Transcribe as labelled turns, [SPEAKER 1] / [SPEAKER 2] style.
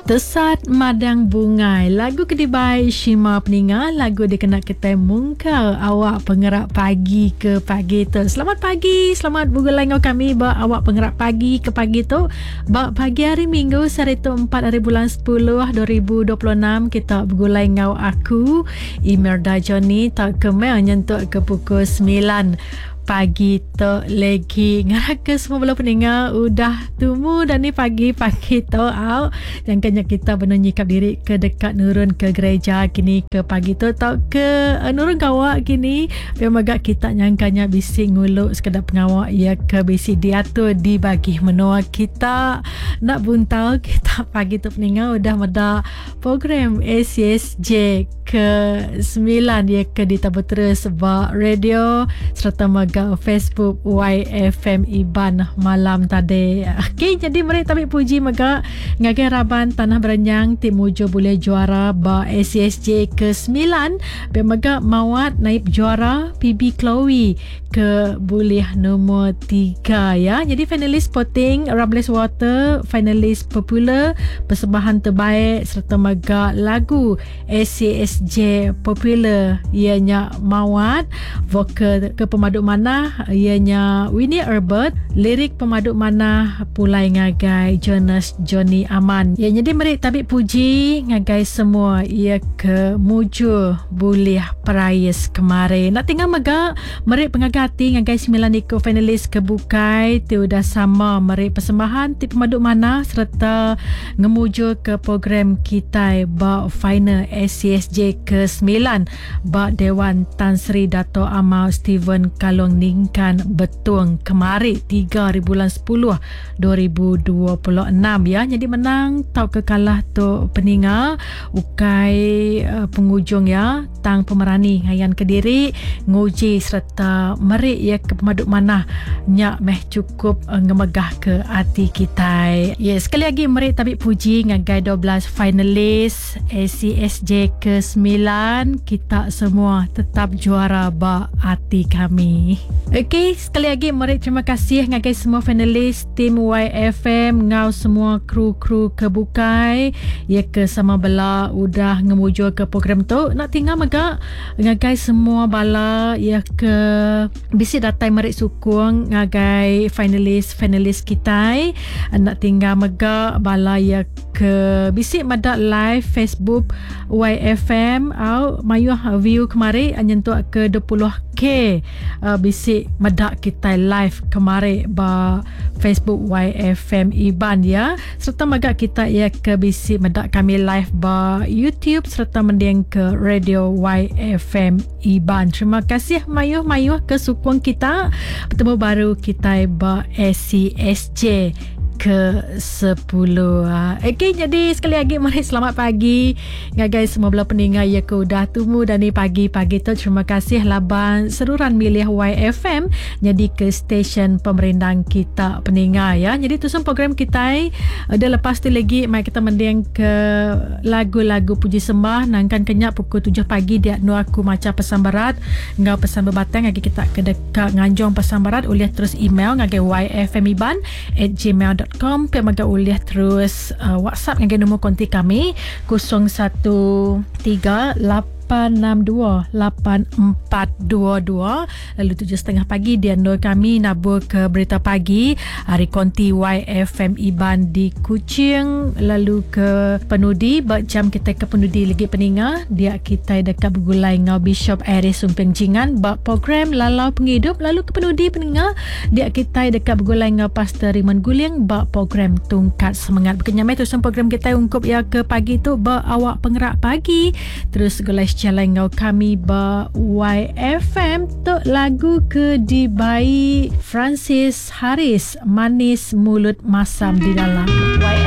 [SPEAKER 1] Tesat Madang Bungai. Lagu ke dibai Shima peninga, lagu dikena kitai mungkal awak pengerak pagi ke pagi tu. Selamat pagi, selamat begulai enggau kami ba awak pengerak pagi ke pagi tu. Ba pagi hari Minggu sehari tu 4 hari bulan 10 2026 kita begulai enggau aku Imelda Johnny tauka Mel nyentuk ke pukul 9 pagi tu legi. Ngarap ke semua bala peninga udah tumu dan ni pagi-pagi tu au. Jangka nya kita benung nyikap diri ke deka nurun ke gereja kini ke pagi tu tau ke uh, nurun gawa kini. Pia mega kita nyangka nya bisi ngulu sekeda pengawa ya ke bisi diatur di bagi menua kita. Nak buntal kita pagi tu peninga udah meda program ACSJ ke 9 ya ke ditabur terus ba radio serta mega Facebook YFM Iban malam tadi. Okey, jadi meri tabi puji mega ngagai raban Tanah Berenyang ti mujur bulih juara ba ACSJ ke 9 pia mega Mawat naib juara PB Chloe ke bulih nombor 3 ya. Jadi finalis sporting Ramles Water, finalis popular persembahan terbaik serta mega lagu ACSJ popular ianya Mawat, vokal ke pemadu manah ianya Winnie Herbert, lirik pemadu manah pulai ngagai Jonas Johnny Aman. Ya jadi meri tabi puji ngagai semua ia ke mujur bulih perais kemari. Nak tinggal mega meri pengaga ati ngagai 9 iku finalis ke bukai ti udah sama meri persembahan ti pemadu manah sereta ngemujur ke program kitai ba final ACSJ ke 9 ba Dewan Tan Sri Dato Amar Stephen Kalong Ningkan Betong kemari 3 hari bulan 10 2026 ya. Jadi menang tauka kalah tu peninga ukai uh, pengujung ya tang pemerani ngayan kediri nguji sereta meri ya ke pemadu manah nya meh cukup uh, ngemegah ke ati kitai. Ya, sekali lagi meri tabi puji ngagai 12 finalis ACSJ ke-9 kita semua tetap juara ba ati kami. Okey, sekali lagi meri terima kasih ngagai semua finalis tim YFM ngau semua kru-kru ke bukai ya ke sama bela udah ngemujur ke program tu. Nak tinggal mega ngagai semua bala ya ke bisi datai meri sukung ngagai finalis-finalis kitai. Nak tinggal mega bala ya ke bisi meda live Facebook YFM au mayuh view kemari nyentuk ke 20k uh, bisi meda kitai live kemari ba Facebook YFM Iban ya serta mega kita ya ke bisi meda kami live ba YouTube serta mending ke radio YFM Iban. Terima kasih mayuh-mayuh ke sukung kita. Bertemu baru kitai ba ACSJ ke 10. Okey, jadi sekali lagi mari selamat pagi ngagai semua bala peninga ya ke udah tumu dan ni pagi-pagi tu. Terima kasih laban seruran milih YFM jadi ke stesen pemerindang kita peninga ya. Jadi tu semua program kita udah lepas tu lagi mai kita mending ke lagu-lagu puji sembah nangkan kenyak pukul 7 pagi dia nu aku macha pesan berat enggau pesan bebatang agi kita ke deka nganjung pesan berat ulih terus email ngagai yfmiban at gmail.com pia mega ulih terus uh, WhatsApp ngagai nombor konti kami 013 862 8422 lalu 7.30 pagi dia nur kami nabur ke berita pagi hari konti YFM Iban di Kuching lalu ke penudi ba jam kita ke penudi lagi peninga dia kita dekat bergulai ngau Bishop Aris Sumping Jingan ba program Lalau Pengidup lalu ke penudi peninga Dia kitai deka begulai enggau Pastor Raymond Guling ba program Tungkat Semengat. Baka nya meh tusun program kitai ungkup iya ke pagi tu ba awak pengerak pagi. Terus gulai sejalai enggau kami ba YFM tu lagu ke dibai Francis Harris Manis Mulut Masam di Dalam.